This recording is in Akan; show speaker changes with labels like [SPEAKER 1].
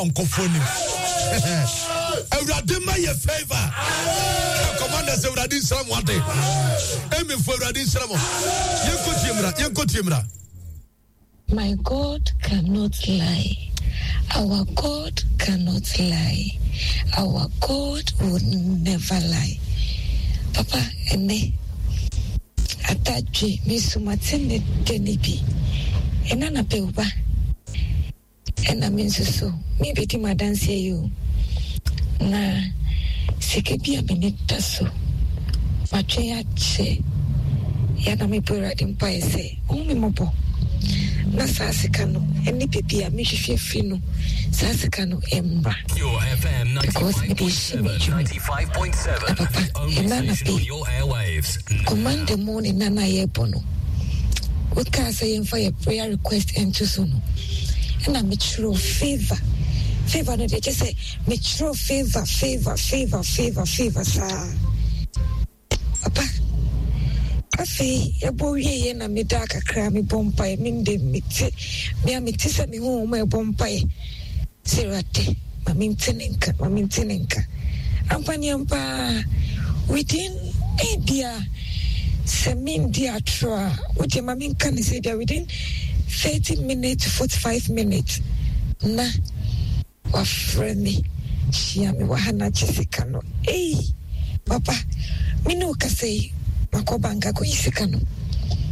[SPEAKER 1] Nkɔfoɔ nim. Awurade ma yɛ favor. Commanders Awurade nhyira mo ade. Emifo Awurade nhyira mo. Yɛnkɔ tie mmra. Yɛnkɔ tie mmra.
[SPEAKER 2] My God cannot lie. Our God cannot lie. Our God will never lie. Papa, ɛnɛ atadwe me so mate ne dɛ ne bi. Ɛna na pɛ ba. Ɛna me nso so merebɛdi m'adanseɛ yi o, na sika bi a m'ani da so matwɛn akyɛ yɛ na mebɔ Awurade mpaeɛ sɛ ɔhu me mmɔbɔ na saa sika no ɛne baabi a mehwehwɛ firi no saa sika no ɛmmra because mede ɛhyɛ me adwuma na papa ɛna anapɛ command the morning na na yɛbɔ no wokaa sɛ yɛmfa yɛ prayer request nto so no ɛna mekyerɛw favour favour no deɛ kyɛ sɛ mekyerɛw favour favour favour favour favour saa papa afei ɛbɔ wieɛ na meda kakra mebɔ mpaeɛ mende mete mea mete sɛ me honhom ɛbɔ mpaeɛ Sɛ Awurade ma mente ne nka, ma mente ne nka. Ampa ne ampa ara, within ebia sɛ mendi atorɔ a, wodeɛ ma menka ne sɛ ebia within 30 minutes to 45 minutes na wafrɛ me hyia me wɔ ha na agye sika no. Ei, papa, me ne wo kasa yi, makɔ bank akɔyi sika no.